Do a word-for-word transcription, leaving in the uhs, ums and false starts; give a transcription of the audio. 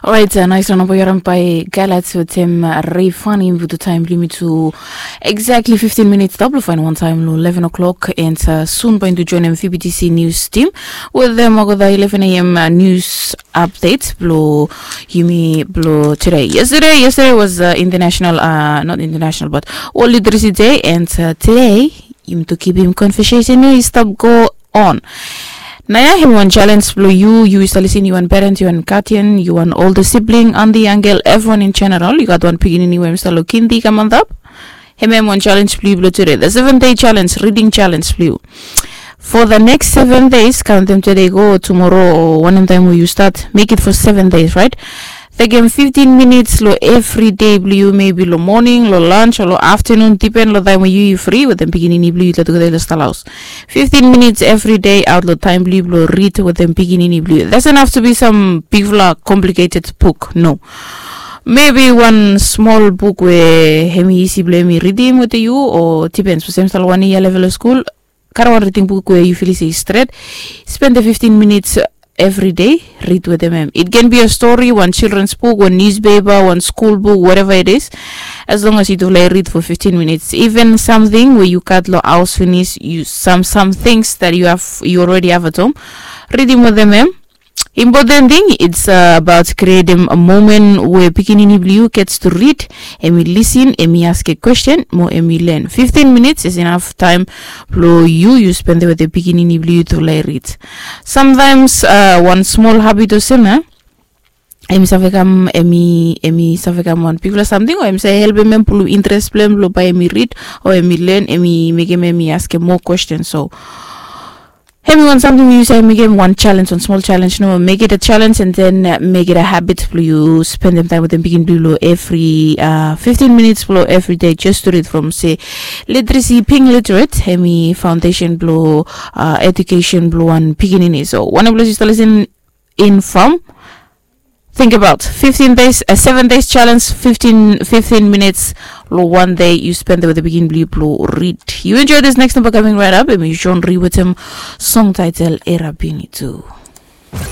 Orait, nais ran namba yu harim bae Gailat wetem Rei Fani. Yumi putum taem blong yumi tu exactly fifteen minutes tap long faenem wantaem long eleven o'clock, and sun bae yumi tu joenem V B T C news team wetem olgeta eleven a.m. news update blong yumi blong today. Yesterday, yesterday was international, not international but World Literacy Day, and today yumi tu kipim conversation ya i stap go on. Naoia hemi wan challenge blong yu, yu i stap lisin, yu wan parent, yu wan guardian, yu wan older sibling, aunty, uncle, evriwan in general, yu gat wan pikinini we hemi stap long kindi kam antap. Hemia hemi wan challenge blong yu blong tude, the seven day challenge, reading challenge blong yu. For the next seven days, kaontem tude go tumoro o wanem taem we yu stat, make it for seven days, right? Tekem fifteen minutes long evri dei blong yu, maybe long moning, long lunch o long aftenun, dipen long taem we yu i fri wetem pikinini blong yu, i tugeta i stap long haos. Fifteen minutes evri dei aot long taem blong yu blong rid wetem pikinini blong yu. Doesn't have to be some bigfala complicated book, no. Maybe wan smol buk we hemi isi blong hemi ridim wetem yu, o dipen sapos hemi stap long wan yia level long skul, karem wan riding buk we yu filim se i stret. Spendem fifteen minutes evri dei, rid wetem hem. It can be a story, wan children's book, wan newspaper, wan skul buk, whatever it is. As long as yutufala i rid for fifteen minutes, even samting we yu gat long haos finis, yu sam sam things that yu have, yu already have at home, ridim wetem hem. Important thing, it's about creating a moment where pikinini blong yu gets to read, hemi lisin, hemi askem question, mo hemi len. Fifteen minutes is enough taem blong yu yu spendem wetem pikinini blong yu tu laik rid. Sometimes wan smol habit olsem ya, hemi save kam, hemi hemi save kam wan bigfala samting, o hemi save helpem hem pulum interes blong hem blong bae hemi rid, o hemi len, hemi mekem hemi askem moa question. So hemi wan samting we yu save mekem wan challenge, wan smol challenge, no, make it a challenge and then make it a habit blong yu spendem taem wetem pikinini blong yu long evri fifteen minutes blong evri dei, just to read from se literacy, being literate, hemi foundation blong education blong wan pikinini. So wanem blong yu stap lisin in from, think about fifteen days, a seven days challenge, fifteen fifteen minutes long wan dei yu spendem wetem pikinini blong yu blong rid. Yu enjoy this next number coming right up, hemi John Ree wetem song title Era Bini Tu.